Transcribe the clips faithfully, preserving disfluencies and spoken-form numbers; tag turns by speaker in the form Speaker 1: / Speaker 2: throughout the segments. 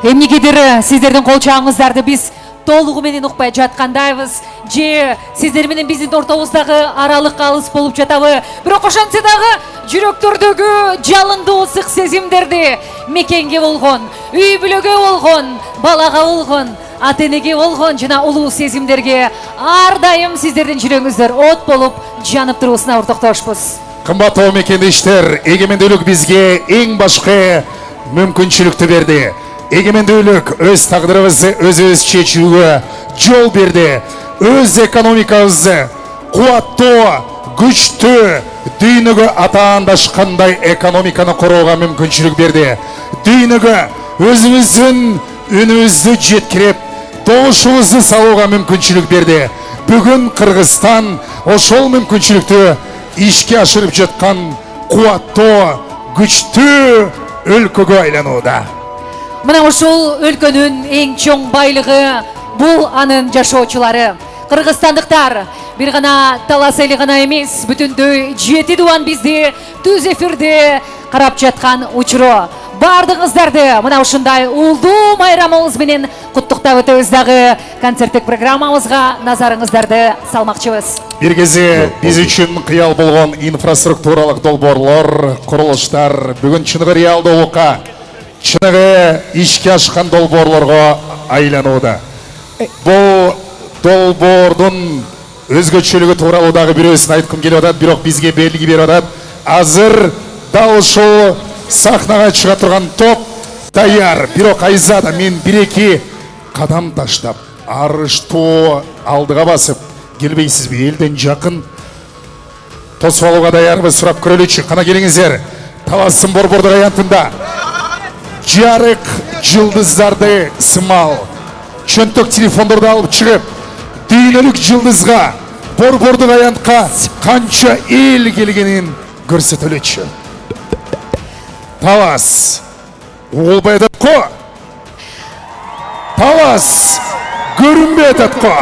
Speaker 1: Эмнегедир сиздердин кол чабыңыздарды биз толугу менен укпай жаткандайбыз, же сиздер менен биздин ортобуздагы аралык алыс болуп жатабы? Бирок ошентсе дагы жүрөктөрдөгү жалындуу ысык сезимдерди мекенге болгон, үй бүлөгө болгон, балага болгон, ата-энеге болгон жана улуу сезимдерге ар дайым сиздердин жүрөгүңүздөр от болуп жанып туруусуна уртоктошпуз.
Speaker 2: Кымбаттуу мекендештер, эгемендүүлүк бизге эң башкы мүмкүнчүлүктү берди. Эгемендүүлүк өз тагдырыбызды өзүбүз чечүүгө жол берди. Өз экономикабызды кубаттуу, күчтүү, дүйнөгө атаандашкандай экономиканы корууга мүмкүнчүлүк берди. Дүйнөгө өзүбүздүн үнүбүздү жеткирип, добушубузду салууга мүмкүнчүлүк берди. Бүгүн Кыргызстан ошол мүмкүнчүлүктү ишке ашырып жаткан кубаттуу, күчтүү өлкөгө айланууда.
Speaker 1: Мына ушул өлкөнүн эң чоң байлыгы бул анын жашоочулары. Кыргызстандыктар бир гана талас эли гана эмес, бүтүндөй жети дубан бизди түз эфирде карап жаткан учуру. Бардыгыңыздарды мына ушундай улдуу майрамыбыз менен куттуктап өтөбүз дагы. Концерттик программабызга назарыңыздарды салмакчыбыз.
Speaker 2: Бир кезде биз үчүн кыял болгон инфраструктуралык долбоорлор, курулуштар бүгүн чыныгы реалдуулукка, чыныгы ишке ашкан долбоорлорго айланууда. Бул долбоордун өзгөчөлүгү тууралуу дагы бирөөсүн айткым келип атат, бирок бизге белги берип атат. Азыр дал ушул сахнага чыга турган топ даяр. Бирок Айзада мен бир-эки кадам таштап, арыштуу алдыга басып келбейсизби? Элден жакын тосуп алууга даярбыз, сурап көрөлүчү. Кана келиңиздер. Таластын борбордук аянтында жарык жылдыздарды сымал чөнтөк телефондорду алып чыгып, дүйнөлүк жылдызга, борбордук аянтка канча эл келгенин көрсөтөлүчү. Талас угулбай атат го. Талас көрүнбөй атат го.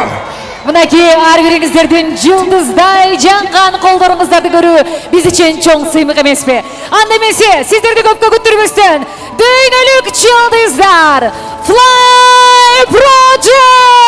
Speaker 1: Мынакей ар бириңиздердин жылдыздай жанган колдоруңуздарды көрүү биз үчүн чоң сыймык эмеспи? Анда эмесе сиздерди көпкө күттүрбөстөн дүйнөлүк жылдыздар Fly Project